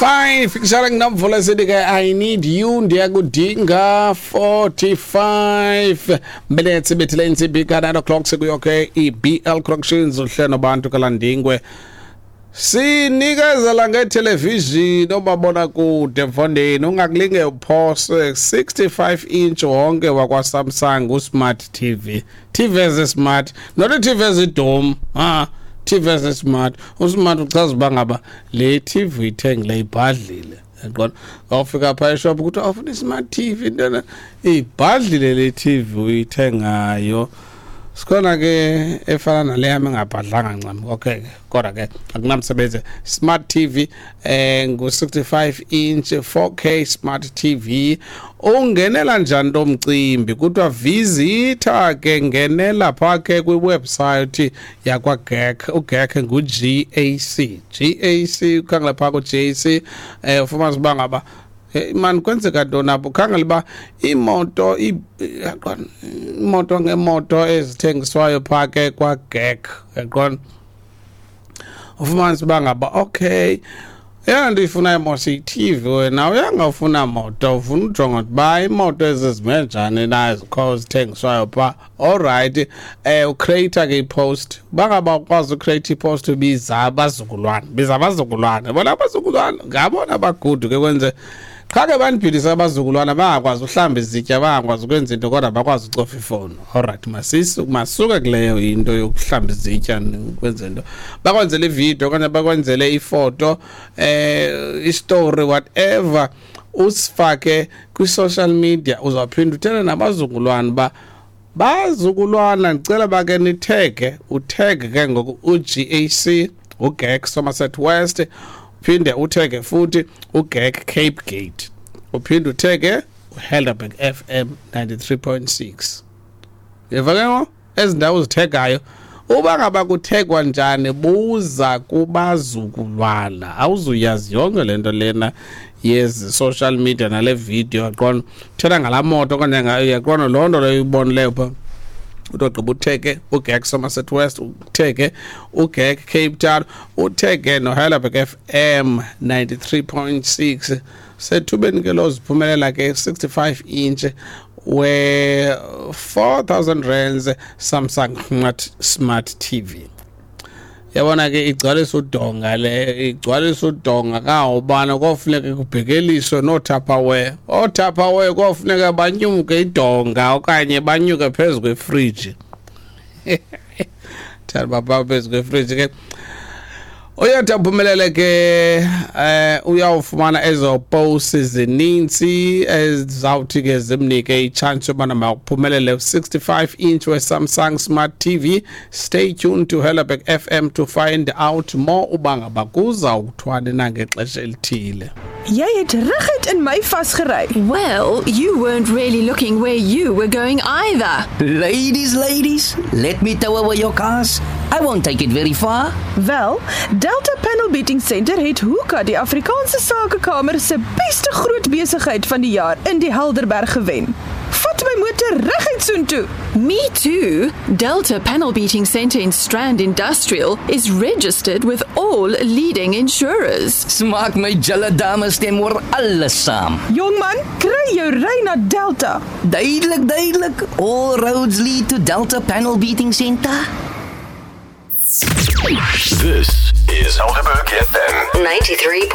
Fine featuring Nomvula sithi ke "I Need You", ndiyakudinga. 45 minutes ibethile intsimbi ka 9 o'clock. Sekuyo ke i-BL Corrections, uhlelo bantu kaLandingwe. Sinikezela ngetelevision, omabonakude mfondini, ungakulinge uphose 65 inch wonke wakwa-Samsung, usmart TV, TV ezi-smart, not i-TV ezidom, ah, TV ezi-smart. Usmart uchaza uba ngaba le TV ithengile ibhadlile, yaqona? Awufika phaa eshop kuthi awufuna i-smart TV, intona ibhadlile le TV uyithengayo. Sikhona ke efana nale yami engabhadlanga ncam, okay ke, kodwa ke akunamsebenzi. Smart TV ngu-65 inch 4K smart TV. Ungenela njani lo mcimbi? Kuthiwa visita ke, ngenela phaa ke kwiwebsite yakwa-GAC. UGAC ngu-GAC, GAC. Ukhangela phaa ku-GAC, ufumanisa uba ngaba man kwenzeka ntoni apho. Khangela uba iimoto, yaqona, iimoto ngeemoto ezithengiswayo phaa ke kwa-GAC, yaqona? Ufumanisa uba ngaba okay, eyona nto uyifunayo mos yi-TV. Wena uyangafuna moto, ufuna ujonga uba imoto ezizime njani na ezikho zithengiswayo phaa. Allright, ucreate ke ipost. Uba ngaba ukwazi ucreate ipost, ubiza abazukulwana, biza abazukulwana bona. Abazukulwana ngabona bagudu ke, kwenze qha ke bandibhilise abazukulwana, bangakwazi uhlamba izitya, bangakwazi ukwenza into, kodwa bakwazi ucofa ifowuni. Allright, masuke kuleyo into yokuhlamba izitya kwenze into, bakwenzele ividiyo okanye bakwenzele ifoto, istory, whatever, usifake kwi-social media. Uzawuphinda uthele nabazukulwana uba bazukulwana, ndicela bake nithege, uthege ke ngoku u-GAC, uGAC Somerset West, uphinde uthege futhi uGAC Cape Gate, uphinde uthege uHelderberg FM 93.6. Yeva ke ngo ezi ndawo uzithegayo, uba ngaba kuthegwa njani, buza kubazukulwana. Awuzuyazi yonke le nto lena yezi social media nale video, yaqona? Uthetha ngalaa moto okanye ngayo, yaqona? Loo nto leyo uyibonileyo phaa, utogqiba utheke uGAC Somerset West, utheke uGAC Cape Town, utheke noHeidelberg FM 93.6. Sethubeni ke lo ziphumelela ke 65 inch we 4000 rands Samsung Smart TV. Yabona ke, igcwalisa udonga le, igcwalisa udonga kangobana kofuneka kubhekeliswe nooTupperware. OoTupperware kofuneka banyuke idonga okanye banyuke phezu kwefriji, thanda bapha phezu kwefriji ke. Uyathi aphumelele ke, uyawufumana ezo posts zininzi ezawuthi ke zimnike ichance yobana makuphumelele 65 inch we-Samsung Smart TV. Stay tuned to Helderberg FM to find out more uba ngaba kuzawuthwani na ngexesha elithile. Jy het reguit in my vasgery. Well, you weren't really looking where you were going either. Ladies, ladies, let me tow away your cars. I won't take it very far. Wel, Delta Panel Beating Center het Hoeka die Afrikaanse Sakekamer se beste groot besigheid van die jaar in die Helderberg gewen. Vat my motor reguit soontoe. Me too. Delta Panel Beating Center in Strand Industrial is registered with all leading insurers. Smaak my julle dames stem oor alles saam. Jong man, kry jou ry na Delta. Duidelik, duidelik. All roads lead to Delta Panel Beating Center. This is Helderberg FM. 93.